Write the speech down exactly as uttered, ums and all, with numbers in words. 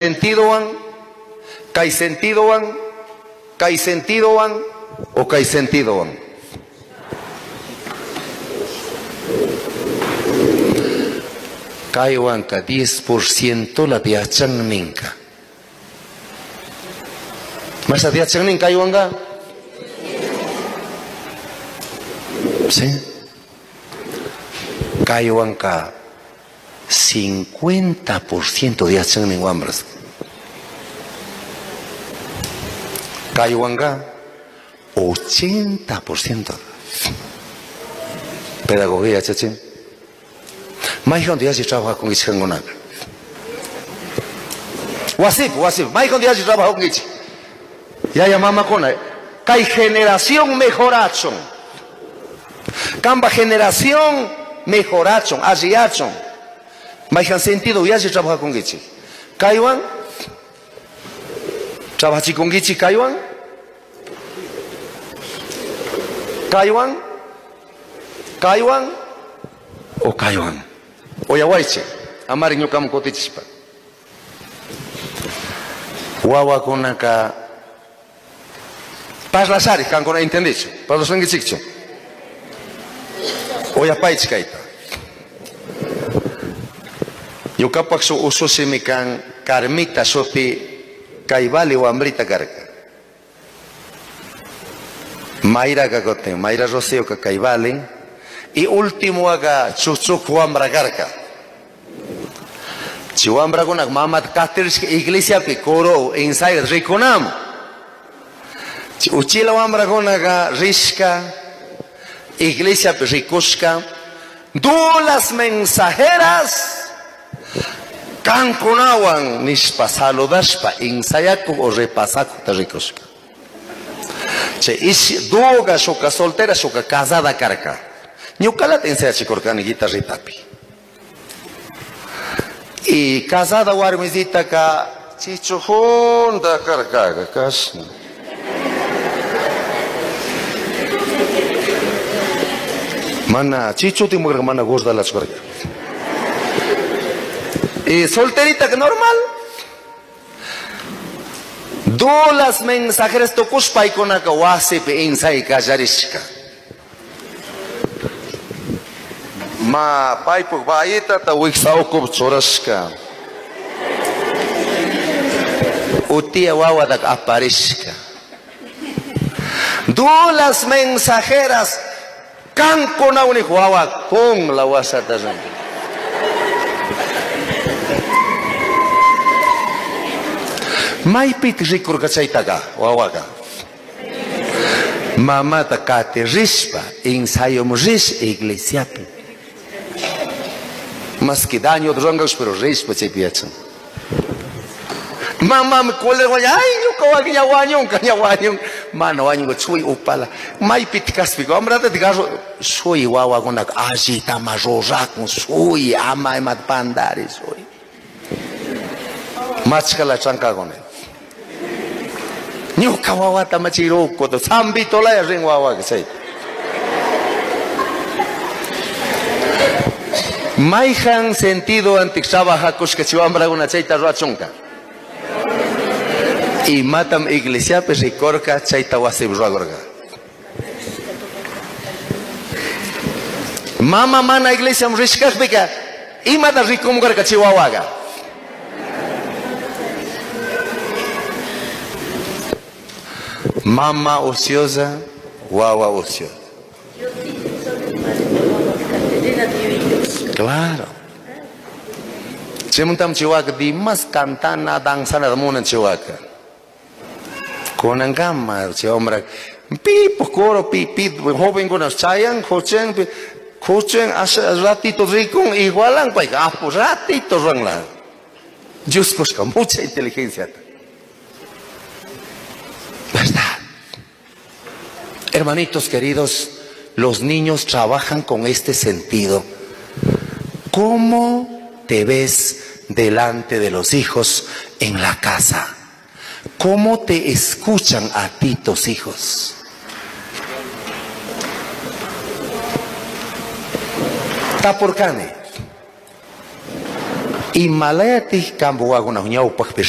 Sentidowan, kay sentidowan, kay sentidowan o kay sentidowan. Kaywanka diez por ciento la yachan ninka. Mas yachan nin kaywanka? Sí. Kaywanka cincuenta por ciento de yachan nin wambras. Kaywanka ochenta por ciento. Pedagogía, chachin. Mayhan diashi trabaja con ichkangunaka. Wasip, wasip, mayhan diashi trabaja con ich. Yaya mama kona, kay generación mejorachon. Kamba generación mejorachon, alliyachon. Mayhan sentido yashi trabaja con ich. Kaywan trabaja con ich kaywan. Kaywan, kaywan o kaywan. Oyawaiche, amari ñukaman kutichispa. Wawakunaka parlasari kankuna entendichu, parlasunkichikchu. Oyapaychi kayta. Ñukapak su usushimi kan Carmita shuti kaybali wambrita karka. Mayra kakotin, Mayra Rocío ka kaybali. Y último aga chuchuk wambra karka. Chiwambra kunak mamat katirishka iglesiapi coro ensayo rikunam. Uchila wambra kunaka rishka iglesiapi rikushka dulas mensajeras kankunawan nishpa saludashpa ensayaku o repasaku ta rikushka. Che ish duga shuka soltera shuka casada karka. Ñukalata ensayachikurkani guitarritapi. Y casada warmisita ka chichu junta karkaga kashna. Mana chichu timukarka mana gordalachu karka. Y solterita que normal. Dulas mensajeras tukushpaykunaka wasipi ensay kallarishka. Ma paypuk bayitata wiksawkup churashka. Utia wawatak aparishka. Dulas mensajeras kankunawnik wawa con la wasata rin. Maypit rikurka chaytaka wawaka. Mamata kati rishpa ensayom rish iglesiapi. Más que daño rurankakush pero rishpa chaypi yachan. Mamá me cólera, ay, ñuka ña wañunka ña wañun. Mana wañunka chuy upala. Maypit kaspika wambrata tigarro shuy wawakunaka allitama rurakun shuy ama imat pandari shuy. Machkala chankakuna. Ñuka wawata machirukuta sambitolaya rin wawaka chayta. Mayhan sentido antik trabajakushka chiwambrakuna chayta ruwachunka. Y matam iglesiapi rikurka chayta wasipi ruwakurka. Mama mana iglesiam rishkakpika imata rikumkarka chay wawaka. Mama ociosa, wawa ociosa. Claro. Chimuntam chiwaka dimas cantana danzana munan chiwaka. Kunankama chi hombre pipo coro pi pi joven kunas chayan jochen jochen ratito rikun igualan pay apu ratito ruanla. Dios busca mucha inteligencia. ¿Verdad? Hermanitos queridos, los niños trabajan con este sentido. ¿Cómo te ves delante de los hijos en la casa? ¿Cómo te escuchan a ti tus hijos? Tapurkani. Imalayati kambu waguna ñawpaqpi